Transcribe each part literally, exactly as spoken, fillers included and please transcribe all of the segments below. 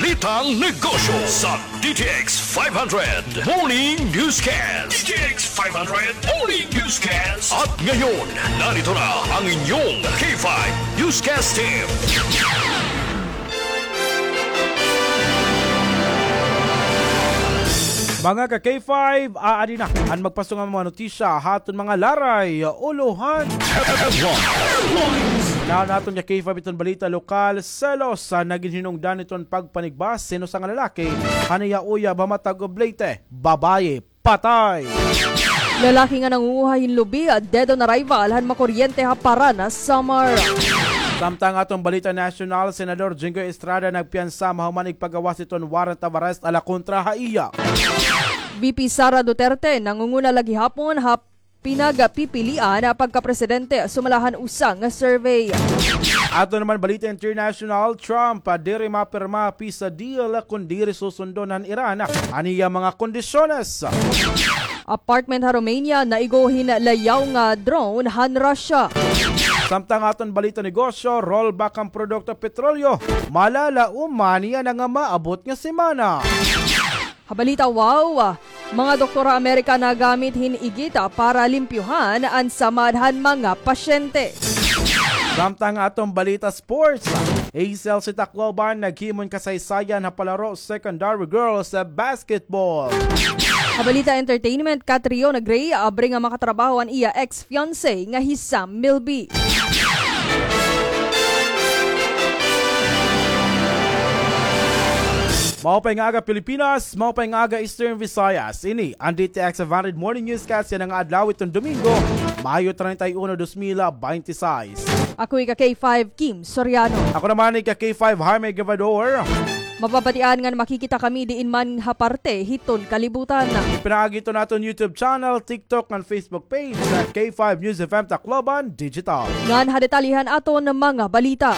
Balitang Negosyo sa D T X five hundred Morning Newscast. D T X five hundred Morning Newscast. At ngayon, narito na ang inyong K five Newscast Team. Mga ka-K five, aadi na an magpasunga mga notisya ha aton mga laray, ulohan. Headlines. Unahan naton ka-K five iton balita lokal, selos sa nagin hinungdan iton pagpanigbas hin usa nga lalaki han iya uyab ha Matagublete, babaye, patay. Lalaki nga nangunguha hin lubi, dead on arrival han makuryente ha Paranas, Samar. Samtang aton balita nasyonal, Senador Jinggoy Estrada nagpiyansa mahuman igpagawas iton warrant of arrest ala kontra ha iya. V P Sara Duterte nangunguna la gihapon ha pinagpipilian pagkapresidente sumala han usa nga survey. Aton naman balita international, Trump, ah, diri mapirma peace deal kon diri susundon han Iran an iya mga kondisyones. Apartment ha Romania naigo hin layaw nga drone han Russia. Samtang aton balita negosyo, rollback an produkto petrolyo, malalaoman niyan nga maabot nga semana. Ha balita wow, mga doktor ha Amerika nagamit hin igita para limpyohan an samad han mga pasyente. Samtang aton balita sports, Hazel si Tacloban naghimo hin kasaysayan ha palaro secondary girls basketball. Ha balita entertainment, Catriona Gray, abri nga makatrabaho an iya ex-fiancé nga hi Sam Milby. Maupay nga aga, Pilipinas. Maupay nga aga, Eastern Visayas. Ini an D T X five hundred Morning Newscast yana nga adlaw iton Domingo, Mayo treinta y uno, dos mil veintiséis. Ako ika K five, Kim Soriano. Ako naman ika K five, Jaime Gavador. Mababatian ngan makikita kami diin man ha parte hiton kalibutan. Pinaagi iton aton YouTube channel, TikTok, ngan Facebook page sa K five News F M Tacloban Digital. Ngan ha detalye han aton mga balita.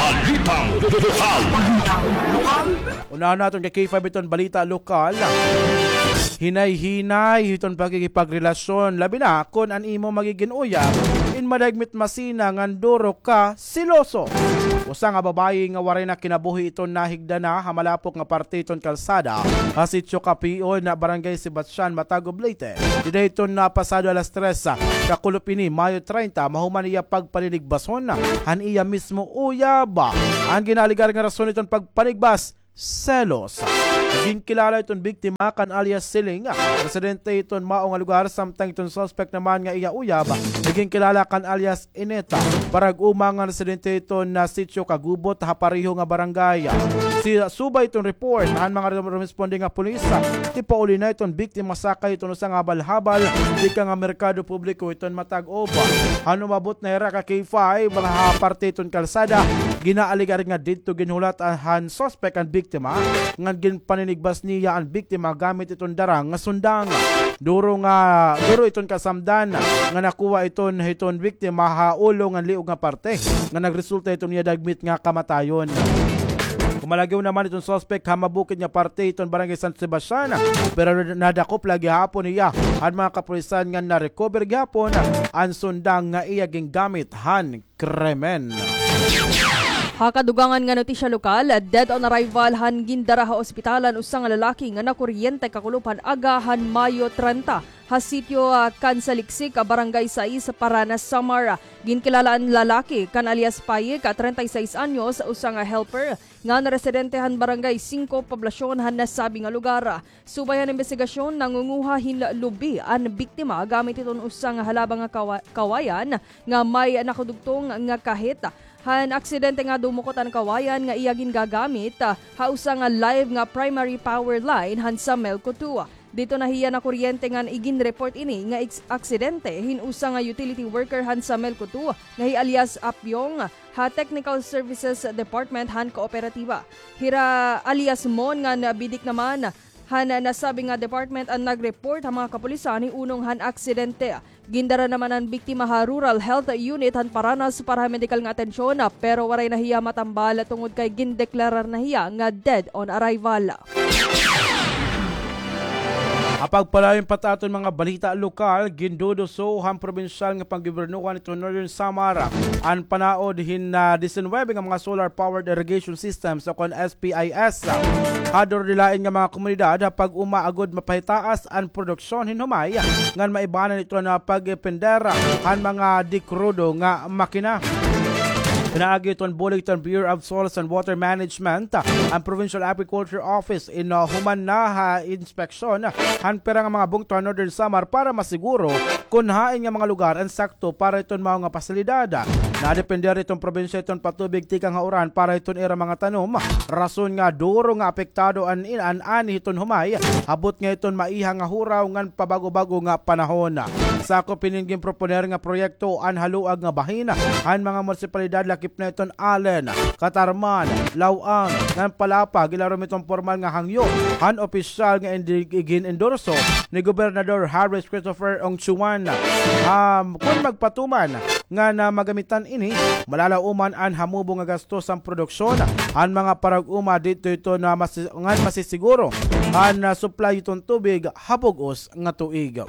Balitang lokal. Unahan naton ka K five iton balita lokal. Hinay-hinay hiton pakikipagrelasyon, labi na kon an imo magigin uyab in madagmit masina ngan duro ka seloso. Usa nga babayi nga waray na kinabuhi iton nahigda na ha malapok nga parte iton kalsada ha Sitio Kapion, Barangay Sebastian, Matagublete. Dida hiton, ah, pasado alas tres, ah, kakulop ini, Mayo treinta, mahuman iya pagpaninigbason han iya mismo uyab. An ginaalegar nga rason hiton pagpanigbas, selos. Ginkilala iton biktima kan alias Siling, residente iton mao nga lugar, samtang iton suspect naman nga iya uyab, ginkilala kan alias Ineta, parag-uma nga residente iton, ah, Sitio Kagubot ha pareho nga barangay. Si, subay iton report han mga rum-, rumesponde nga pulis, ah, tipauli na iton biktima sakay iton usa nga habal-habal tikang ha merkado publiko iton Matag-Uban. Han umabot na hira ka K five ha parte iton kalsada, ginaalegar nga didto ginhulat, ah, han suspect an biktima, ngan ginpaninigbas niya an biktima gamit iton dara nga sundang. Duro nga, duro iton kasamdan nga nakuha iton hiton biktima ha ulo ngan liog nga parte, nga nagresulta iton iya dagmit nga kamatayon. Kumalagiw naman iton suspect ha mabukid nga parte iton Barangay San Sebastian, pero nadakop la gihapon niya han mga kapulisan ngan na-recover gihapon an sundang nga iya gingamit han krimen. Ha kadugangan nga notisya lokal, dead on arrival han gindara ha ospital an usa nga lalaki nga nakuryente kakulop han aga han Mayo treinta ha sitio, ah, Kansaliksik, ah, Barangay sais, Paranas, Samar. Ginkilala an lalaki kan alias Payik, ah, treinta y seis anyos, usa nga helper ngan residente han Barangay singko, poblasyon han nasabi nga lugar. Subay han imbestigasyon, nangunguha hin lubi an biktima gamit iton usa nga halaba nga kawa-, kawayan nga may nakadugtong nga kahit. Han aksidente nga dumukot an kawayan nga iya gingagamit, ah, ha usa nga live nga primary power line han Samelco two. Didto na hiya nakuryente ngan iginreport ini nga eks-, aksidente hin usa nga utility worker han Samelco two nga hi alias Apyong ha Technical Services Department han kooperatiba. Hira alias Mon ngan Bidik naman han nasabi nga department an nagreport ha mga kapulisan hiunong han aksidente. Gindara naman an biktima ha Rural Health Unit han Paranas para ha medikal nga atensyon, pero waray na hiya matambal tungod kay gindeklarar na hiya nga dead on arrival. Ha pagpadayon pa ta aton mga balita lokal, ginduduso han probinsyal nga panggobyernohan iton Northern Samar an panaod hin, ah, disinuybe nga mga solar-powered irrigation systems o kon S P I S. Ha duro di lain nga mga komunidad, ha pag-uma agod mapahitaas an produksyon hin humay, ngan maibanan iton pagpender han mga di-krudo nga makina. Pinaagi iton bulig iton Bureau of Soils and Water Management, an Provincial Agriculture Office in, uh, human na ha inspeksyon han pira nga mga bungto han Northern Samar para masiguro kon hain nga mga lugar an sakto para iton mao nga pasilidad. Nadepender iton probinsya iton patubig tikang ha uran para iton ira mga tanom. Rason nga duro nga apektado an, an ani hiton humay, ha butnga hiton maiha nga huraw ngan pabag-o-bag-o nga panahon. Sakop hinin ginproponer nga proyekto an haluag nga bahin han mga munisipalidad lakip na iton Alen, Catarman, Laoang, ngan Palapag, ilarom hiton pormal nga hangyo han opisyal nga indi-, igin-endorso ni Gobernador Harris Christopher Ongchuan. Um, kon magpatuman nga na magamitan ini, malalaoman an hamubo nga gastos han produksyon han mga parag-uma didto hiton masi-, ngan masisiguro an, ah, supply hiton tubig ha bug-os nga tuig.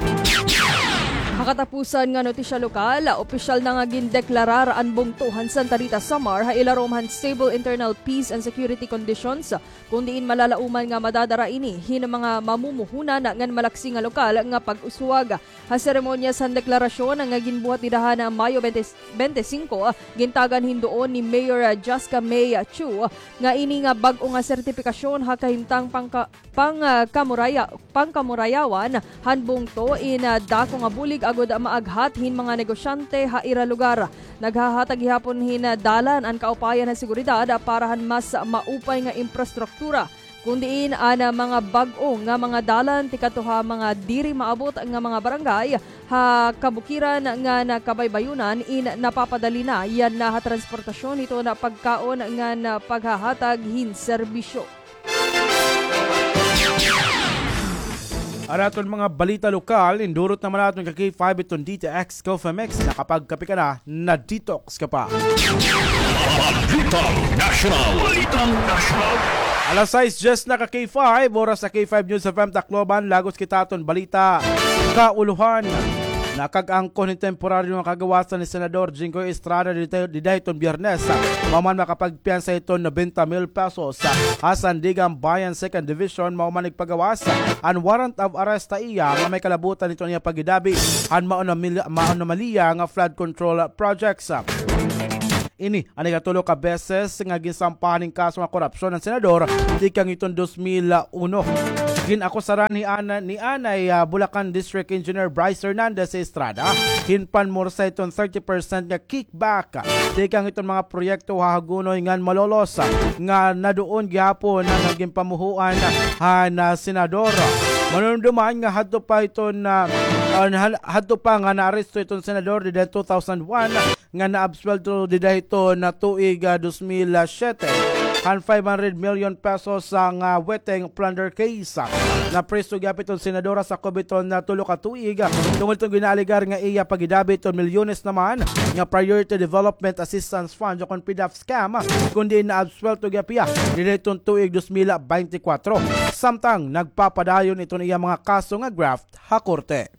Ha katapusan nga notisya lokal, opisyal na nga gindeklarar an bungto han Santa Rita, Samar ha ilarom han stable internal peace and security conditions, kon diin malalaoman nga madadara ini hin mga mamumuhunan ngan malaksi nga lokal nga pag-uswag. Ha seremonyas han deklarasyon nga ginbuhat dida han Mayo bente, bente singko, gintagan hin duon ni Mayor Jasca May Chu nga ini nga bag-o nga sertipikasyon ha kahimtang pangka-, pang, ah, kamuraya-, pangkamurayawan han bungto in, ah, dako nga bulig agod maaghat hin mga negosyante ha ira lugar. Naghahatag gihapon hin, ah, dalan an kaupayan han seguridad para han mas maupay nga imprastruktura, kon diin an, ah, mga bag-o nga mga dalan tikadto ha mga diri maabot nga mga barangay ha kabukiran ngan kabaybayonan in napapadali na yana ha transportasyon hiton pagkaon ngan paghahatag hin serbisyo. An aton mga balita lokal, indurot naman naton ka K five iton D T X Coffee Mix. Nakapagkape ka na, na-detox ka pa. Balitang National. Balitang National. Alas sais dyes na ka K five, oras sa K five News F M Tacloban, lagos kita aton balita kaulohan. Nakag-angkon hin temporaryo nga kagawasan ni Senador Jinggoy Estrada dida, dida hiton Biyernes. Mao man makapagpiyansa hiton nobenta mil pesos. Ha Sandiganbayan Second Division, mao man nagpagawas an warrant of arrest ha iya nga may kalabutan hiton iya paghidabi han maanomal-, maanomaliya nga flood control projects. Ini an ikatulo ka beses nga ginsampahan hin kaso nga korupsyon an senador tikang hiton dos mil uno. Gin-akusaran hi ana-, ni anay, ah, Bulacan District Engineer Bryce Hernandez Estrada hin panmursa hiton thirty percent nga kickback tikang hiton mga proyekto ha Hagonoy ngan Malolos, ah, nga naduon gihapon nga ginpamuhoan han, ah, senador. Manumduman nga hadto pa hiton, ah, ah, han-, hadto pa nga naaresto hiton senador dida two thousand one, nga naabsuwelto dida hiton tuig, ah, dos mil siyete, han five hundred million pesos nga, ah, weteng plunder case. Napreso gihap hiton senador ha sakob hiton, ah, tulo ka tuig, ah, tungod hiton ginaalegar nga iya paghidabi hiton milyones naman nga Priority Development Assistance Fund o kon PDAF scam, kundi naabsuwelto gihap hiya dida hiton tuig dos mil beintikwatro. Samtang nagpapadayon iton iya mga kaso nga graft ha korte.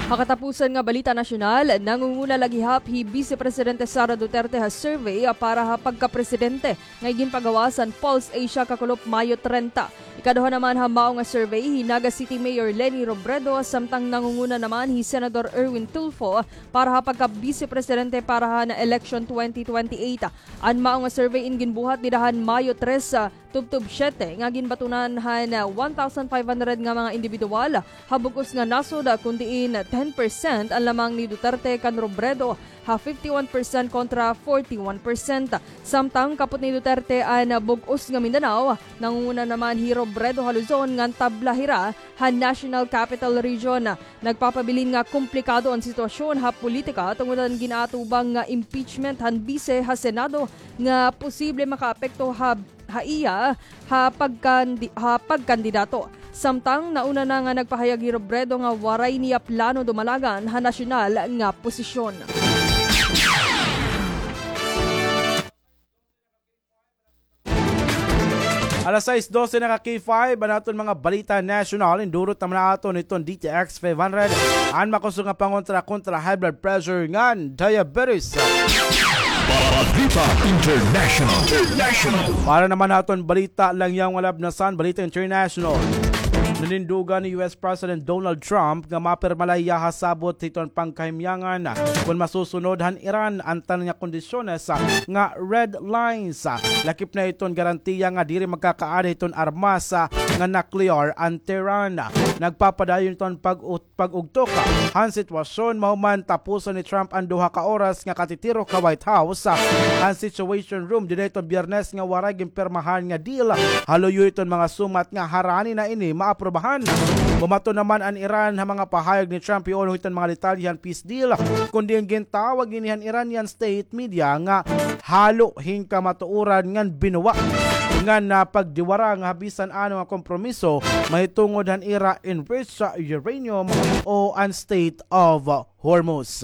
Ha katapusan nga balita nasyonal, nangunguna la gihap hi Vice Presidente Sara Duterte ha survey para ha pagkapresidente nga iginpagawas han Pulse Asia kakulop Mayo trenta. Ikaduha naman ha mao nga survey hi Naga City Mayor Leni Robredo, samtang nangunguna naman hi Senador Erwin Tulfo para ha pagka-Vice Presidente para han election twenty twenty-eight. An mao nga survey in ginbuhat dida han Mayo tres, ah, tubtob siyete nga ginbatunan han, ah, one thousand five hundred nga mga indibidwal ha bug-os nga nasod, ah, kun diin ten percent an lamang ni Duterte kan Robredo ha fifty-one percent kontra forty-one percent. Samtang kapot ni Duterte an, ah, bug-os nga Mindanao, nangunguna naman hi Robredo ha Luzon ngan tabla hira ha National Capital Region. Nagpapabilin nga komplikado an sitwasyon ha politika tungod han gin-aatubang nga impeachment han bise ha Senado nga posible makaapekto ha, ha iya ha pagkandi-, ha pagkandidato. Samtang nauna na nga nagpahayag hi Robredo nga waray niya plano dumalagan ha nasyonal nga posisyon. Alas sais dose na ka K five, an aton mga balita nasyonal, indurot naman na aton iton D T X five hundred. An makusog nga pangontra kontra high blood pressure ngan diabetes. Balita International. International. Para naman aton balita, langyaw nga labnasan, balita international. Nanindugan ni U S President Donald Trump nga mapirma la hiya ha sabot hiton pangkahimyangan kon masusunod han Iran an tanan nga kondisyones nga red lines. Lakip na iton garantiya nga diri magkakaada hiton armas nga nuclear an Tehran. Nagpapadayon iton pag-ut- pag-ugtok han sitwasyon mahuman tapuson ni Trump an duha ka oras nga katitirok ha White House, an Situation Room, dinhi iton Biyernes nga waray ginpirmahan nga deal. Haluyo iton mga sumat nga harani na ini maaprubahan. Bumaton naman an Iran ha mga pahayag ni Trump hiuno hiton mga detalye han peace deal, kundi an gintawag ini han Iranian state media nga halo hin kamatuoran ngan binuwa ngan pagdiwarang ha bisan ano nga kompromiso mahitungod han ira enriched uranium o an Strait of Hormuz.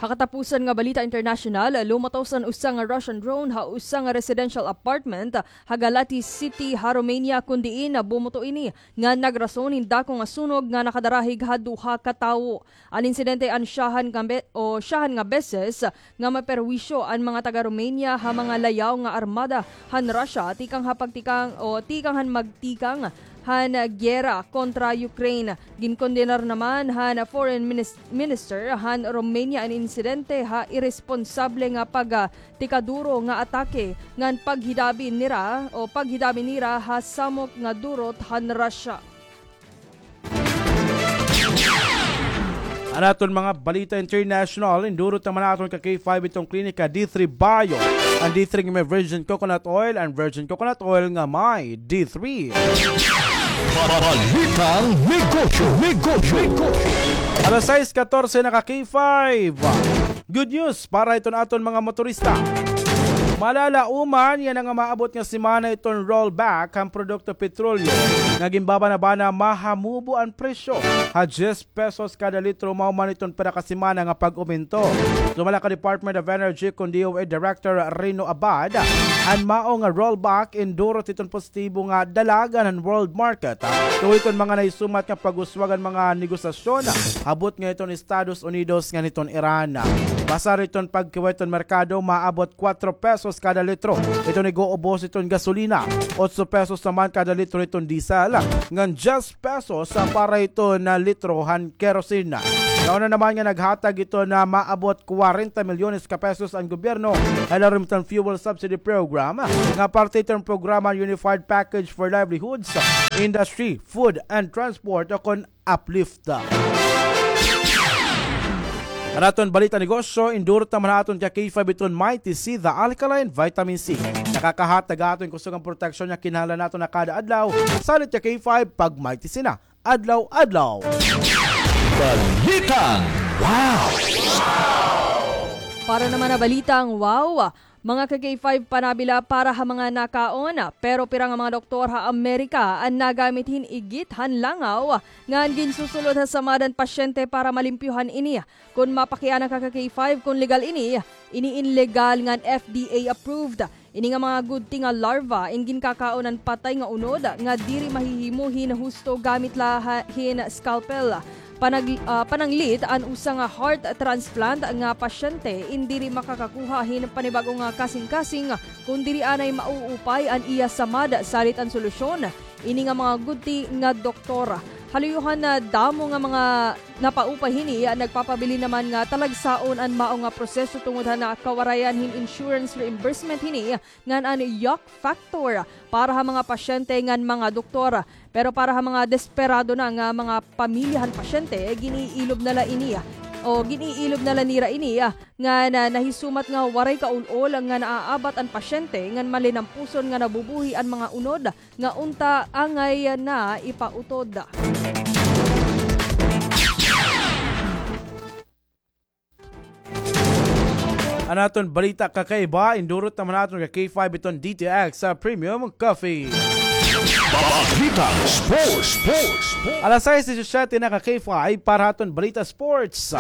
Ha katapusan nga balita internasyonal, lumatos an usa nga Russian drone ha usa nga residential apartment ha Galati City ha Romania, kun diin bumuto ini nga nagrason hin dako nga sunog nga nakadarahig ha duha ka tawo. An insidente an syahan nga be-, o syahan nga beses nga maperwisyo an mga taga-Romania ha mga layaw nga armada han Russia tikang ha pagtikang o tikang han magtikang han giyera kontra Ukraine. Ginkondenar naman han Foreign Minis-, Minister han Romania an insidente ha iresponsable nga pagtikaduro nga atake ngan paghidabi nira o paghidabi nira ha samok nga durot han Russia. An aton mga balita international, indurot naman naton ka K five iton klinika D three Bio. An D three nga may virgin coconut oil, an virgin coconut oil nga may D three. Balitang negosyo, negosyo, negosyo. Alas sais katorse na ka K five. Good news para iton aton mga motorista. Malalaoman yana nga maabot nga semana iton rollback han produkto petrolyo nga ginbabana-bana mahamubo an presyo ha diyes pesos kada litro, mao man iton pira ka semana nga pag-umento. Sumala ka Department of Energy kun D O E Director Rino Abad, an mao nga rollback indurot iton positibo nga dalagan han world market. Tuod iton mga nahisumat nga pag-uswag han mga negosasyon, ha butnga iton Estados Unidos ngan iton Iran. Basar iton pagkiway iton merkado, maabot kuwatro pesos kada litro iton ig-uubos iton gasolina, otso pesos naman kada litro iton diesel, ngan diyes pesos para iton litro han kerosene. Kauna naman nga naghatag iton maabot kwarenta milyones ka pesos an gobyerno ha ilarom iton fuel subsidy program nga parte iton programa Unified Package for Livelihoods, Industry, Food and Transport o kon uplift. An aton balita negosyo, indurot naman ha aton ka K five iton Mighty C, the alkaline vitamin C. Nakakahatag ha aton kusog nga proteksyon nga kinahanglan naton ha kada adlaw. Salit ka K five, pag Mighty C na, adlaw-adlaw. Balitang wow! Para naman ha balitang wow, mga ka K five, panabila para ha mga nakaon, pero pira nga mga doktor ha Amerika an nagamit hin igit han langaw ngan ginsusulod ha samad han pasyente para malimpyohan ini. Kon mapakiana ka ka K five, kon legal ini, ini in legal ngan F D A approved. Ini nga mga gudti nga larva in ginkakaon han patay nga unod nga diri mahihimo hin husto gamit la ha-, hin scalpel. Panag-, ah, pananglit, an usa nga heart transplant nga pasyente in diri makakakuha hin panibag-o nga kasingkasing kon diri anay mauupay an iya samad. Salit an solusyon, ini nga mga gudti nga doktor. Haluyohan na damo nga mga napaupay hini, nagpapabilin naman nga talagsaon an mao nga proseso tungod han kawarayan hin insurance reimbursement hini ngan an yuck factor para ha mga pasyente ngan mga doktor. Pero para ha mga desperado na nga mga pamilya han pasyente, gin-iilob na la ini, o gin-iilob na la nira ini, ngan nahisumat nga waray kaul-ol nga naaabat an pasyente ngan malinampuson nga nabubuhi an mga unod nga unta angay na ipautod. An aton balita kakaiba, indurot naman naton ka K five iton D T X sa Premium Coffee. Balitang sports, sports, sports. Alas sais disisyete na ka K five para aton balita sports.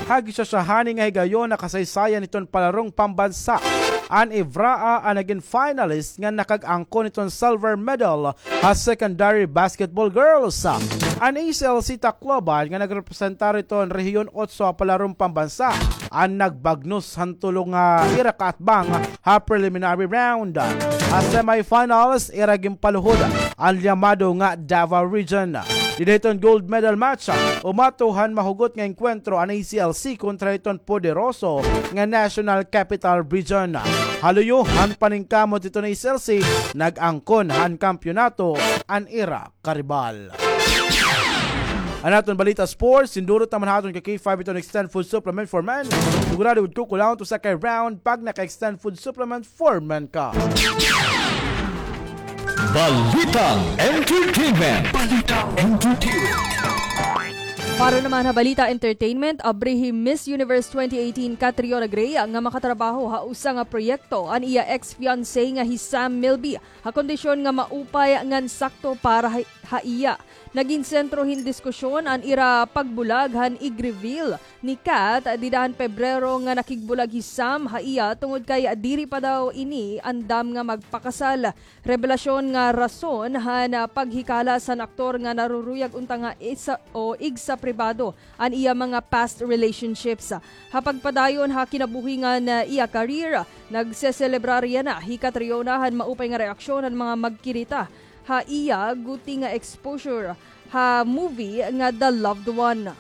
Hagisasahani nga higayon na kasaysayan iton palarong pambansa. an Ivraa an nagin finalist nga nakag-angkon hiton silver medal ha secondary basketball girls. An A C L C Tacloban nga nagrepresentar hiton Rehiyon Otso ha palarong pambansa an nagbagnos han tulo nga ira kaatbang ha preliminary round. Ha semifinals, ira ginpaluhod an llamado nga Davao Region. Dida hiton gold medal match, umato han mahugot nga engkwentro an A C L C kontra hiton poderoso nga National Capital Region. Ha luyo han paningkamot hiton A C L C, nag-angkon han kampiyonato an ira karibal. An aton balita sports, sindurot naman ha aton ka K five iton Extend Food Supplement for Men. Sigurado gud kukulahon it usa ka round pag naka-Extend Food Supplement for Men ka. Balitang Entertainment. Balitang Entertainment. Para naman ha Balita Entertainment, abrihi Miss Universe twenty eighteen Catriona Gray nga makatrabaho ha usa nga proyekto an iya ex-fiancé nga hi Sam Milby, ha kondisyon nga maupay ngan sakto para ha, ha iya. Nagin sentro hin diskusyon an ira pagbulag han ig-reveal ni Kat dida han Pebrero nga nakigbulag hi Sam ha iya tungod kay diri pa daw ini andam nga magpakasal. Rebelasyon nga rason han, ah, paghikalas han aktor nga naruruyag unta nga isa o igsa pribado an iya mga past relationships. Ha pagpadayon ha kinabuhi ngan, ah, iya career, nagseselebrar yana hi Catriona han maupay nga reaksyon han mga magkirita ha iya guti nga exposure ha movie nga The Loved One.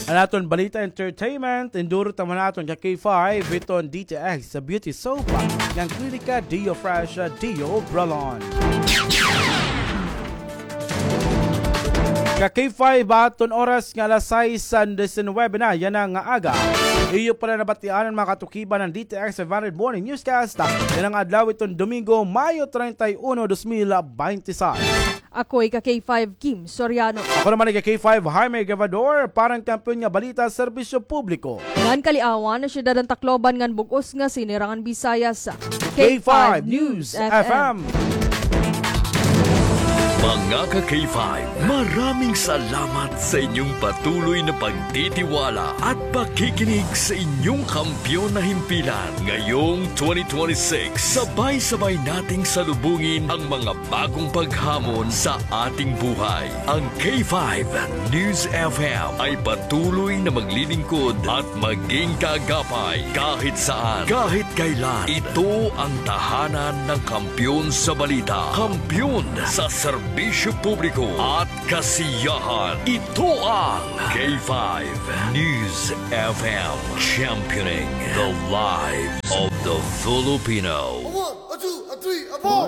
An aton balita entertainment, indurot naman naton ka K five iton D T X sa beauty soap ngan klinika Dio Fresh, Dio Bralon. Ka K five, aton oras nga alas sais san disinwebe na yana nga aga. Iyo pala nabatian an mga katukiban han D T X five hundred Morning Newscast yana nga adlaw iton Domingo, Mayo treinta y uno, dos mil beintiseis. Ako ika K five Kim Soriano. Ako naman ika K five Jaime Gavador para han Kampiyon nga Balita, Serbisyo Publiko ngan Kaliawan, Syudad han Tacloban ngan Bug-os nga Sinirangan Visayas. K five News F M. Mga ka K five, maraming salamat sa inyong patuloy na pagtitiwala at pakikinig sa inyong kampiyon na himpilan. Ngayong twenty twenty-six, sabay-sabay nating salubungin ang mga bagong paghamon sa ating buhay. Ang K five News F M ay patuloy na maglilingkod at maging kaagapay kahit saan, kahit kailan. Ito ang tahanan ng kampiyon sa balita, kampiyon sa serbisyo publiko at kasiyahan. Ito ang K five News F M, championing the lives of the Filipino. A one, a two, a three, a four.